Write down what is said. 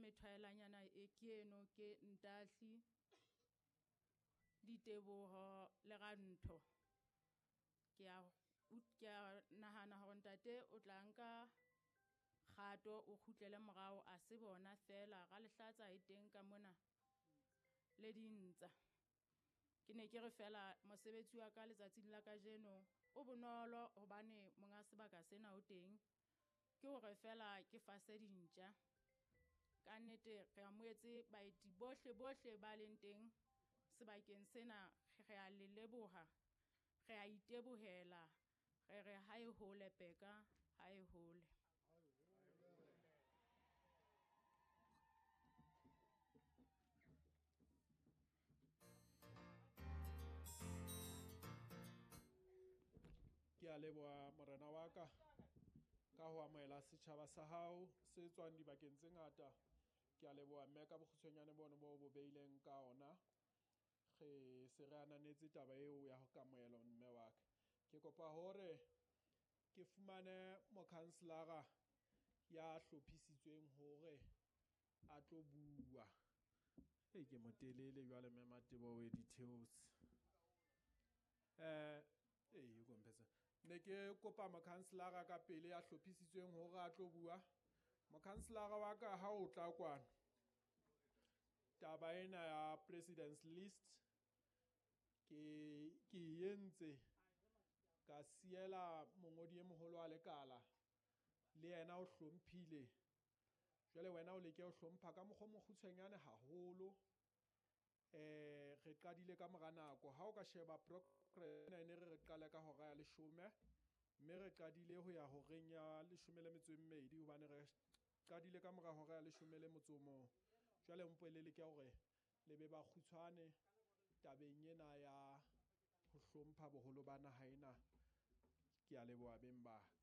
methwaelanyana e ke eno ke Ntahli, Diteboho le Rantho. Ke a nahana hore ntate o tla nka kgato o kgutlele morao a se bona fela ra lehlatsa e teng ka mona le dintsa. Ke ne ke re fela mosebetsi wa ka letsatsing la kajeno o bonolo hobane monga sebaka sena o teng. Ke hore fela ke fase dintja. Ka nnete re amohetse baeti bohle bohle ba leng teng sebakeng sena, re a le leboha, re a itebohela, re re ha e hole peka, ha e hole. Ke a leboha morena wa ka ka ho amohela setjhaba sa hao se tswang dibakeng tse ngata. Ke a leboha mme ka bokgutshwanyane bono bo bo beileng ka ona. Re se re ananetse taba eo ya ho kamohelo mme wa ka. Ke kopa hore ke fumane mokhanselara ya hlophisitsweng hore a tlo bua. Ei, ke motelele jwale mme Matebo o e di theose. Ei, o kompetsa. Ne ke kopa mokhanselara ka pele ya hlophisitsweng hore a tlo bua. Mokhanselara wa ka ha o tla kwano. Taba ena ya president's list ke entse ka siela mongodi e moholo wa lekala le yena o hlomphile. Jwale wena o leke ho hlompha ka mokgwa o mokgutshwanyane haholo. Re qadile ka mora nako. Ha o ka sheba progress ena e ne re qale ka hora ya 10, mme re qadile ho ya horeng ya 12 hobane re qadile ka mora hora ya 11. Jwale mpo le leke hore le be ba kgutshwane tabeng ena ya ho hlompha boholo ba naha ena. Ke a leboha beng ba ka.